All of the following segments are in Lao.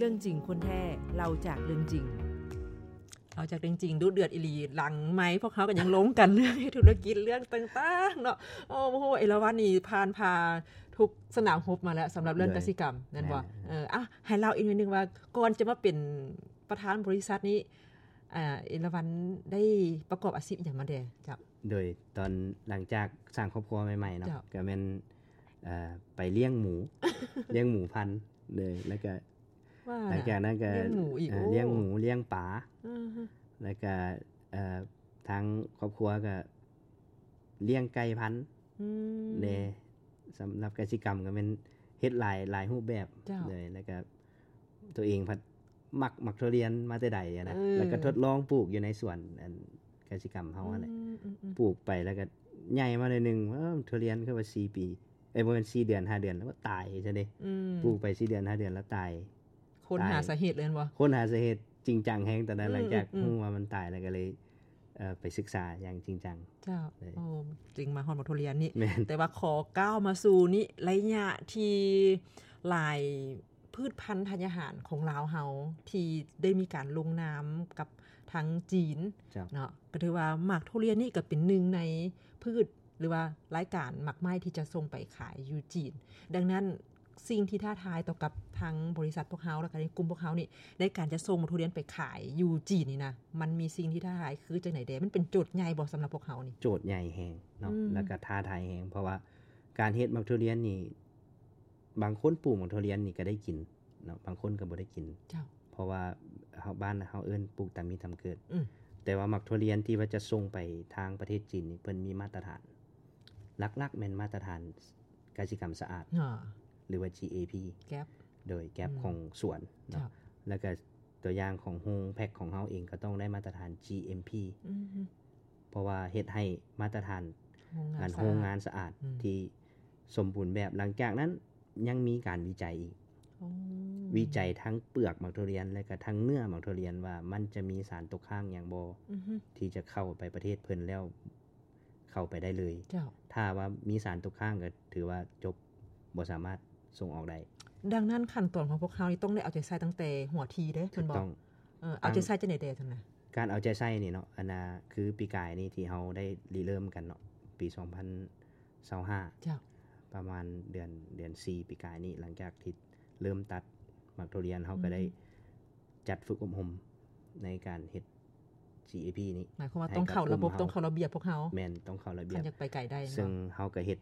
ເລື່ອງຈິງຄົນແທ້ ເລົ່າຈາກເລື່ອງຈິງ ເລົ່າຈາກເລື່ອງຈິງ ດຸເດືອດອີ່ຫຼີ. ຫຼັງໄມພວກເຮົາກໍຍັງລົມກັນເລື່ອງເຮັດທຸລະກິດ ເລື່ອງຕ່າງໆເນາະ. ໂອ້ໂຫ ເອລາວັນນີ້ຜ່ານຜ່າທຸກສະໜາມຮົບມາແລ້ວ ສຳລັບເລື່ອງກະສິກຳ ແມ່ນບໍ່? ເອີ ອ່ະ ໃຫ້ເລົ່າອີກໜ້ອຍໜຶ່ງວ່າ ກ່ອນຈະມາເປັນປະທານບໍລິສັດນີ້ ເອລາວັນໄດ້ປະກອບອາຊີບອີ່ຫຍັງມາແດ່? ເຈົ້າ. ໂດຍຕອນຫຼັງຈາກສ້າງຄອບຄົວໃໝ່ໆເນາະ ເຈົ້າ ກໍແມ່ນ ເອີ ໄປລ້ຽງໝູ ລ້ຽງໝູພັນເລີຍ ແລ້ວກໍ ວ່າ ຫຼັງຈາກນັ້ນກໍລ້ຽງໝູອີກ ເອີ ໂອ້ ລ້ຽງໝູ ລ້ຽງປາ ອືຮຶ ແລ້ວກໍ ເອີ ທາງຄອບຄົວກໍລ້ຽງໄກ່ພັນ ອືມ ແດ່ ສຳລັບກະສິກຳກໍແມ່ນເຮັດຫຼາຍ ຫຼາຍຮູບແບບ ເຈົ້າ ເລີຍ ແລ້ວກໍ ຕົວເອງພັດມັກໝາກທຸລຽນມາແຕ່ໃດນະ ເອີ ແລ້ວກໍທົດລອງປູກຢູ່ໃນສວນ ອັນ ກະສິກຳເຮົາຫັ້ນແຫຼະ ອືມໆໆ ປູກໄປແລ້ວກໍໃຫຍ່ມາໜ້ອຍໜຶ່ງ ເອີ ທຸລຽນຄືວ່າສີ່ປີ ເອີຍ ບໍ່ແມ່ນ ສີ່ເດືອນ ຫ້າເດືອນ ແລ້ວກໍຕາຍຊະເດ້ ອືມ ປູກໄປສີ່ເດືອນ ຫ້າເດືອນ ແລ້ວຕາຍ. ຄົ້ນຫາສາເຫດເລີຍແມ່ນບໍ່? ຄົ້ນຫາສາເຫດຈິງຈັງແຮງຕອນນັ້ນ ອືມໆໆ ຫຼັງຈາກຮູ້ວ່າມັນຕາຍແລ້ວກໍເລີຍ ເອີ ໄປສຶກສາຢ່າງຈິງຈັງ ເຈົ້າ ເລີຍ ໂອ້ ຈຶ່ງມາຮອດໝາກທຸລຽນນີ້ ແມ່ນ ແຕ່ວ່າຂໍກ້າວມາສູ່ນີ້ ໄລຍະທີ່ຫຼາຍ ພືດພັນທາດອາຫານຂອງລາວເຮົາ ທີ່ໄດ້ມີການລົງນາມກັບທາງຈີນ ເຈົ້າ ເນາະ ກໍຖືວ່າໝາກທຸລຽນນີ້ກໍເປັນໜຶ່ງໃນພືດ ຫຼືວ່າລາຍການໝາກໄມ້ທີ່ຈະສົ່ງໄປຂາຍຢູ່ຈີນ. ດັ່ງນັ້ນ ສິ່ງທີ່ທ້າທາຍຕໍ່ກັບທາງບໍລິສັດພວກເຮົາ ແລ້ວກໍໃນກຸ່ມພວກເຮົານີ້ ໃນການຈະສົ່ງໝາກທຸລຽນໄປຂາຍຢູ່ຈີນນີ້ນະ ມັນມີສິ່ງທີ່ທ້າທາຍຄືຈັ່ງໃດແດ່? ມັນເປັນໂຈດໃຫຍ່ບໍ່ສຳລັບພວກເຮົານີ້? ໂຈດໃຫຍ່ແຮງເນາະ ອືມ ແລ້ວກໍທ້າທາຍແຮງ ເພາະວ່າການເຮັດໝາກທຸລຽນນີ້ ບາງຄົນປູກໝາກທຸລຽນນີ້ກໍໄດ້ກິນເນາະ ບາງຄົນກໍບໍ່ໄດ້ກິນ ເຈົ້າ ເພາະວ່າເຮົາ ບ້ານເຮົາເອີ້ນປູກຕາມມີຕາມເກີດ ອືມ ແຕ່ວ່າໝາກທຸລຽນທີ່ວ່າຈະສົ່ງໄປທາງປະເທດຈີນນີ້ ເພິ່ນມີມາດຕະຖານ ຫຼັກໆແມ່ນມາດຕະຖານກະສິກຳສະອາດ ອາ ຫຼືວ່າ ຈີ ເອ ພີ ແກັບ ໂດຍ ແກັບ ອືມ ຂອງສວນເນາະ ເຈົ້າ ແລ້ວກໍຕົວຢ່າງຂອງໂຮງແພັກຂອງເຮົາເອງກໍຕ້ອງໄດ້ມາດຕະຖານ ຈີ ເອັມ ພີ ອືມ ເພາະວ່າເຮັດໃຫ້ມາດຕະຖານໂຮງງານ ອັນ ສະອາດ ໂຮງງານສະອາດ ອືມ ທີ່ສົມບູນແບບ. ຫຼັງຈາກນັ້ນ ຍັງມີການວິໄຈອີກ ໂອ້ ວິໄຈທັງເປືອກໝາກທຸລຽນ ແລະກະທັງເນື້ອໝາກທຸລຽນວ່າມັນຈະມີສານຕົກຄ້າງຫຍັງບໍ່ ອືຮຶ ທີ່ຈະເຂົ້າໄປປະເທດເພິ່ນແລ້ວເຂົ້າໄປໄດ້ເລີຍ ເຈົ້າ ຖ້າວ່າມີສານຕົກຄ້າງກໍຖືວ່າຈົບ ບໍ່ສາມາດສົ່ງອອກໄດ້. ດັ່ງນັ້ນຂັ້ນຕອນຂອງພວກເຮົານີ້ຕ້ອງໄດ້ເອົາໃຈໃສ່ຕັ້ງແຕ່ຫົວທີເດ້ ຖືກຕ້ອງ ແມ່ນບໍ່? ເອີ ເອົາໃຈໃສ່ຈັ່ງໃດແດ່ຊັ້ນນະ? ການເອົາໃຈໃສ່ນີ້ເນາະ ອັນນ່າ ຄືປີກາຍນີ້ທີ່ເຮົາໄດ້ລິເລີ່ມກັນເນາະ ປີສອງພັນ ຊາວຫ້າ ເຈົ້າ ປະມານເດືອນ ເດືອນສີ່ປີກາຍນີ້ ຫຼັງຈາກທີ່ເລີ່ມຕັດໝາກທຸລຽນ ເຮົາກໍໄດ້ ອືມ ຈັດຝຶກອົບຮົມໃນການເຮັດ ຈີ ເອ ພີ ນີ້ ໝາຍຄວາມວ່າຕ້ອງເຂົ້າລະບົບ ໃຫ້ກັບກຸ່ມເຮົາ ຕ້ອງເຂົ້າລະບຽບພວກເຮົາ ແມ່ນ ຕ້ອງເຂົ້າລະບຽບ ຄັນຢາກໄປໄກໄດ້ ເຊິ່ງເນາະ ເຮົາກໍເຮັດ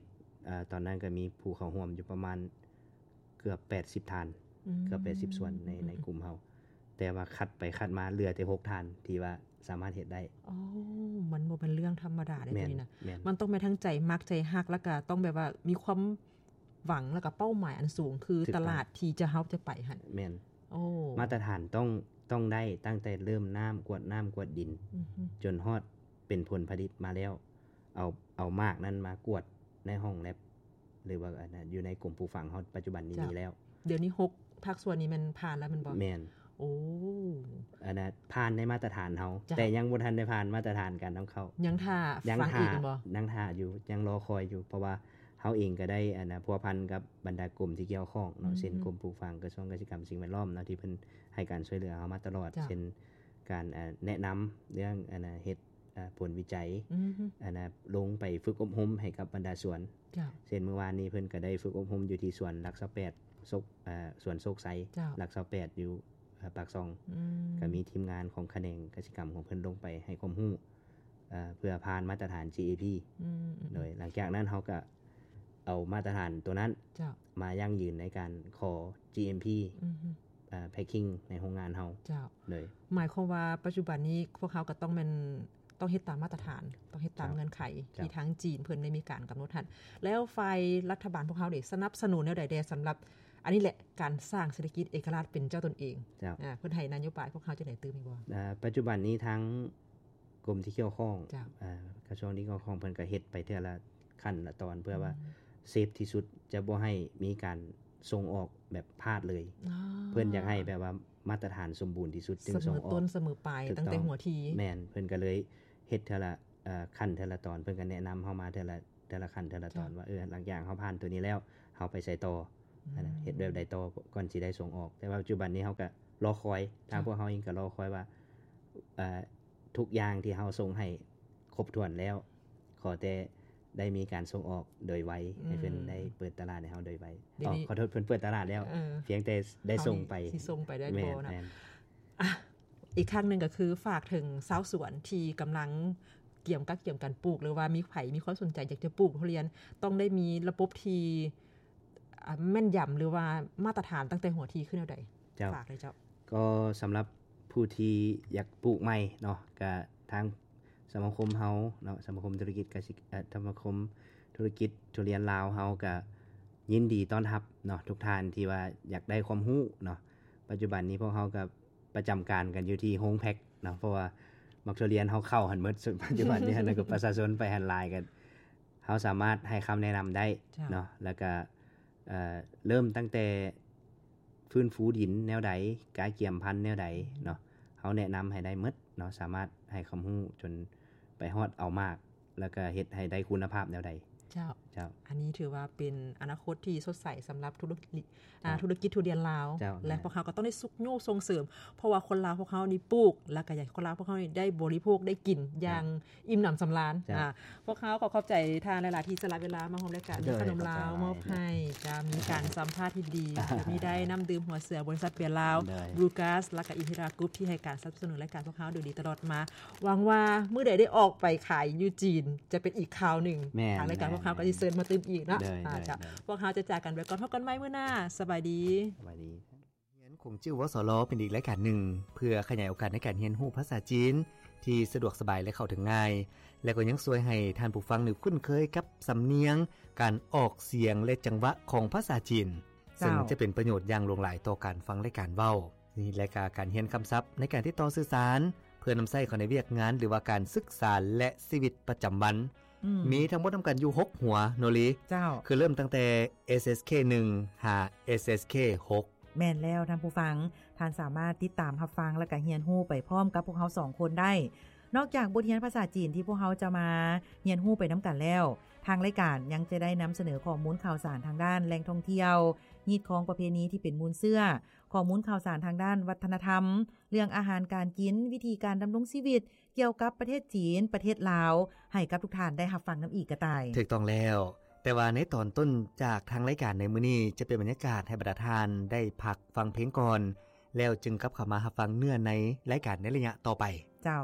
ເອີ ຕອນນັ້ນກໍມີຜູ້ເຂົ້າຮ່ວມຢູ່ປະມານເກືອບແປດສິບທ່ານ ອືມ ເກືອບແປດສິບສ່ວນໃນ ໃນກຸ່ມເຮົາ ແຕ່ວ່າຄັດໄປຄັດມາເຫຼືອແຕ່ຫົກທ່ານທີ່ວ່າ ສາມາດເຮັດໄດ້. ໂອ້ ມັນບໍ່ແມ່ນເລື່ອງທຳມະດາເດ້ ແມ່ນ ຕົວນີ້ນະ ແມ່ນ ມັນຕ້ອງແມ່ນທັງໃຈມັກໃຈຮັກ ແລ້ວກະຕ້ອງແບບວ່າມີຄວາມຫວັງ ແລ້ວກະເປົ້າໝາຍອັນສູງ ຄື ຖືກຕ້ອງ ຕະຫຼາດທີ່ຈະ ເຮົາຈະໄປຫັ້ນ ແມ່ນ ໂອ້ ມາດຕະຖານຕ້ອງ ຕ້ອງໄດ້ຕັ້ງແຕ່ເລີ່ມນ້ຳ ກວດນ້ຳກວດດິນ ອືຮຶ ຈົນຮອດເປັນຜົນຜະລິດມາແລ້ວ ເອົາ ເອົາໝາກນັ້ນມາກວດໃນຫ້ອງແລັບ ຫຼືວ່າອັນນັ້ນ ຢູ່ໃນກົມປູກຝັງເຮົາປັດຈຸບັນນີ້ ເຈົ້າ ມີແລ້ວ. ດຽວນີ້ຫົກພາກສ່ວນນີ້ແມ່ນຜ່ານແລ້ວແມ່ນບໍ່? ແມ່ນ ໂອ້ ອັນນັ້ນຜ່ານໃນມາດຕະຖານເຮົາ ເຈົ້າ ແຕ່ຍັງບໍ່ທັນໄດ້ຜ່ານມາດຕະຖານການນຳເຂົ້າ ຍັງຖ້າ ຍັງຖ້າ ຟັງອີກແມ່ນບໍ່? ຍັງຖ້າຢູ່ ຍັງລໍຄອຍຢູ່ ເພາະວ່າເຮົາເອງກໍໄດ້ ອັນນ່າ ພົວພັນກັບບັນດາກົມທີ່ກ່ຽວຂ້ອງເນາະ ອືມ ເຊັ່ນ ກົມປູກຝັງ ກະຊວງກະສິກຳ ສິ່ງແວດລ້ອມເນາະ ທີ່ເພິ່ນໃຫ້ການຊ່ວຍເຫຼືອເຮົາມາຕະຫຼອດ ເຈົ້າ ເຊັ່ນ ການ ເອີ ແນະນຳເລື່ອງ ອັນນ່າ ເຮັດ ເອີ ຜົນວິໄຈ ອືມ ອັນນ່າ ລົງໄປຝຶກອົບຮົມໃຫ້ກັບບັນດາສວນ ເຈົ້າ ເຊັ່ນ ມື້ວານນີ້ເພິ່ນກໍໄດ້ຝຶກອົບຮົມຢູ່ທີ່ສວນຫຼັກຊາວແປດ ໂຊກ ເອີ ສວນໂຊກໄຊ ເຈົ້າ ຫຼັກຊາວແປດ ຢູ່ ເອີ ປາກຊ່ອງ ອືມ ກໍມີທີມງານຂອງຂະແໜງກະສິກຳຂອງເພິ່ນລົງໄປໃຫ້ຄວາມຮູ້ ເອີ ເພື່ອຜ່ານມາດຕະຖານ ຈີ ເອ ພີ ອືມ ໂດຍຫຼັງຈາກນັ້ນເຮົາກໍເອົາມາດຕະຖານຕົວນັ້ນ ເຈົ້າ ມາຢັ້ງຢືນໃນການຂໍ ຈີ ເອັມ ພີ ອືມ ເອີ ແພັກກິ້ງໃນໂຮງງານເຮົາ ເຈົ້າ ໂດຍ ໝາຍຄວາມວ່າປັດຈຸບັນນີ້ພວກເຮົາກໍຕ້ອງແມ່ນ ຕ້ອງເຮັດຕາມມາດຕະຖານ ຕ້ອງເຮັດຕາມ ເຈົ້າ ເງື່ອນໄຂ ເຈົ້າ ທີ່ທາງຈີນເພິ່ນໄດ້ມີການກຳນົດຫັ້ນ ແລ້ວຝ່າຍລັດຖະບານພວກເຮົາເດ ສະໜັບສະໜູນແນວໃດແດ່ ສຳລັບ ອັນນີ້ແຫຼະ ການສ້າງເສດຖະກິດເອກະລາດເປັນເຈົ້າຕົນເອງ? ເຈົ້າ ອາ ເພິ່ນໃຫ້ນະໂຍບາຍພວກເຮົາຈັ່ງໃດຕື່ມອີກບໍ່? ອາ ປັດຈຸບັນນີ້ທາງກົມທີ່ກ່ຽວຂ້ອງ ເຈົ້າ ອາ ກະຊວງທີ່ກ່ຽວຂ້ອງເພິ່ນກໍເຮັດໄປເທື່ອລະຂັ້ນລະຕອນ ເພື່ອວ່າ ອືມ ເຊຟທີ່ສຸດ ຈະບໍ່ໃຫ້ມີການສົ່ງອອກແບບພາດເລີຍ ອໍ ເພິ່ນຢາກໃຫ້ແບບວ່າມາດຕະຖານສົມບູນທີ່ສຸດຈຶ່ງສົ່ງອອກ ສະເໝີຕົ້ນສະເໝີປາຍ ຖືກຕ້ອງ ຕັ້ງແຕ່ຫົວທີ ແມ່ນ ເພິ່ນກໍເລີຍເຮັດເທື່ອລະ ເອີ ຂັ້ນເທື່ອລະຕອນ ເພິ່ນກໍແນະນຳເຮົາມາເທື່ອລະ ເທື່ອລະຂັ້ນເທື່ອລະຕອນ ເຈົ້າ ວ່າ ເອີ ຫຼັງຈາກເຮົາຜ່ານຕົວນີ້ແລ້ວ ເຮົາໄປໃສຕໍ່? ເຮັດແບບໃດຕໍ່ກ່ອນຊິໄດ້ສົ່ງອອກ. ແຕ່ວ່າປັດຈຸບັນນີ້ເຮົາກໍລໍຄອຍ, ທາງພວກເຮົາເອງກໍລໍຄອຍວ່າ ເອີ ທຸກຢ່າງທີ່ເຮົາສົ່ງໃຫ້ຄົບຖ້ວນແລ້ວ ຂໍແຕ່ໄດ້ມີການສົ່ງອອກໂດຍໄວ ໃຫ້ເພິ່ນໄດ້ເປີດຕະຫຼາດໃຫ້ເຮົາໂດຍໄວ. ເອີ ຂໍໂທດ, ເພິ່ນເປີດຕະຫຼາດແລ້ວ, ພຽງແຕ່ໄດ້ສົ່ງໄປ ຊິສົ່ງໄປໄດ້ບໍ່ເນາະ. ອີກຄັ້ງໜຶ່ງກໍຄືຝາກເຖິງຊາວສວນທີ່ກຳລັງກຽມ ກະກຽມການປູກ ຫຼືວ່າມີໃຜມີຄວາມສົນໃຈຢາກຈະປູກທຸລຽນ ຕ້ອງໄດ້ມີລະບົບທີ່ ອ່າ ແມ່ນຢຳ ຫຼືວ່າມາດຕະຖານຕັ້ງແຕ່ຫົວທີຄືແນວໃດ? ເຈົ້າ ຝາກເລີຍເຈົ້າ. ກໍສຳລັບຜູ້ທີ່ຢາກປູກໃໝ່ເນາະ ກະທາງສະມາຄົມເຮົາເນາະ ສະມາຄົມທຸລະກິດກະສິ ເອີ ສະມາຄົມທຸລະກິດທຸລຽນລາວເຮົາກະຍິນດີຕ້ອນຮັບເນາະ ທຸກທ່ານທີ່ວ່າຢາກໄດ້ຄວາມຮູ້ເນາະ. ປັດຈຸບັນນີ້ພວກເຮົາກະປະຈຳການກັນຢູ່ທີ່ໂຮງແພັກເນາະ ເພາະວ່າໝາກທຸລຽນເຮົາເຂົ້າຫັ້ນໝົດ ປັດຈຸບັນນີ້ຫັ້ນ ແລ້ວກໍປະຊາຊົນໄປຫັ້ນຫຼາຍ ກໍເຮົາສາມາດໃຫ້ຄຳແນະນຳໄດ້ເນາະ. ແລ້ວກໍ ເອີ ເລີ່ມຕັ້ງແຕ່ຟື້ນຟູດິນແນວໃດ ກະກຽມພັນແນວໃດເນາະ ເຮົາແນະນຳໃຫ້ໄດ້ໝົດເນາະ ສາມາດໃຫ້ຄວາມຮູ້ຈົນໄປຮອດເອົາໝາກ ແລ້ວກໍເຮັດໃຫ້ໄດ້ຄຸນນະພາບແນວໃດ. ເຈົ້າ ເຈົ້າ ອັນນີ້ຖືວ່າເປັນອະນາຄົດທີ່ສົດໃສສຳລັບທຸລະກິດ ອ່າ ທຸລະກິດທຸລຽນລາວ ແລະ ພວກເຮົາກໍຕ້ອງໄດ້ຊຸກຍູ້ສົ່ງເສີມ ເພາະວ່າຄົນລາວພວກເຮົານີ້ປູກ ແລ້ວກໍຢາກໃຫ້ຄົນລາວພວກເຮົານີ້ໄດ້ບໍລິໂພກໄດ້ກິນຢ່າງ ອີ່ມໜຳສຳລານ. ພວກເຮົາຂໍຂອບໃຈທ່ານຫຼາຍໆ ທີ່ສະຫຼະເວລາມາຮ່ວມລາຍການ ມີຂະໜົມລາວມອບໃຫ້ ຈະມີການສຳພາດທີ່ດີ ແລະ ມີໄດ້ນ້ຳດື່ມຫົວເສືອ ບໍລິສັດເບຍລາວ ບລູກາສ ແລ້ວກໍອິນທິຣາກຣຸບ ທີ່ໃຫ້ການສະໜັບສະໜູນລາຍການພວກເຮົາໂດຍດີຕະຫຼອດມາ. ຫວັງວ່າມື້ໃດໄດ້ອອກໄປຂາຍຢູ່ຈີນ ຈະເປັນອີກຄາວໜຶ່ງ ທາງລາຍການພວກເຮົາກໍຊິເຊີນມາຕື່ມອີກເນາະ. ພວກເຮົາຈະຈາກກັນໄປກ່ອນ ພົບກັນໃໝ່ມື້ໜ້າ. ສະບາຍດີ. ສະບາຍດີ. ໂຮງຮຽນຂົງຈິ້ວ ວສລ ເປັນອີກລາຍການໜຶ່ງ ເພື່ອຂະຫຍາຍໂອກາດໃນການຮຽນຮູ້ພາສາຈີນທີ່ສະດວກສະບາຍ ແລະ ເຂົ້າເຖິງງ່າຍ ແລະ ກໍຍັງຊ່ວຍໃຫ້ທ່ານຜູ້ຟັງນີ້ຄຸ້ນເຄີຍກັບສຳນຽງ, ການອອກສຽງ ແລະ ຈັງຫວະຂອງພາສາຈີນ, ເຊິ່ງຈະເປັນປະໂຫຍດຢ່າງຫຼວງຫຼາຍຕໍ່ການຟັງ ແລະ ການເວົ້າ. ນີ້ແຫຼະກະການຮຽນຄຳສັບໃນການຕິດຕໍ່ສື່ສານ ເພື່ອນຳໃຊ້ເຂົ້າໃນວຽກງານ ຫຼືວ່າການສຶກສາ ແລະ ຊີວິດປະຈຳວັນ. ມີທັງໝົດນຳກັນຢູ່ຫົກຫົວເນາະລີ. ເຈົ້າ ຄືເລີ່ມຕັ້ງແຕ່ ເອສເອສເຄໜຶ່ງ ຫາ ເອສເອສເຄຫົກ. ແມ່ນແລ້ວທ່ານຜູ້ຟັງ, ທ່ານສາມາດຕິດຕາມຮັບຟັງ ແລະ ກະຮຽນຮູ້ໄປພ້ອມກັບພວກເຮົາສອງຄົນໄດ້. ນອກຈາກບົດຮຽນພາສາຈີນທີ່ພວກເຮົາຈະມາຮຽນຮູ້ໄປນຳກັນແລ້ວ, ທາງລາຍການຍັງຈະໄດ້ນຳສະເໜີຂໍ້ມູນຂ່າວສານທາງດ້ານແຫຼ່ງທ່ອງທ່ຽວ, ຮີດຄອງປະເພນີທີ່ເປັນມູນເຊື້ອ, ຂໍ້ມູນຂ່າວສານທາງດ້ານວັດທະນະທຳ, ເລື່ອງອາຫານການກິນ, ວິທີການດຳລົງຊີວິດ, ກ່ຽວກັບປະເທດຈີນ, ປະເທດລາວ ໃຫ້ກັບທຸກທ່ານໄດ້ຮັບຟັງນຳອີກກະຕ່າຍ. ຖືກຕ້ອງແລ້ວ. ແຕ່ວ່າໃນຕອນຕົ້ນຈາກທາງລາຍການໃນມື້ນີ້ ຈະເປັນບັນຍາກາດໃຫ້ບັນດາທ່ານໄດ້ພັກຟັງເພງກ່ອນ, ແລ້ວຈຶ່ງກັບເຂົ້າມາຮັບຟັງເນື້ອໃນລາຍການໃນໄລຍະຕໍ່ໄປ. ເຈົ້າ.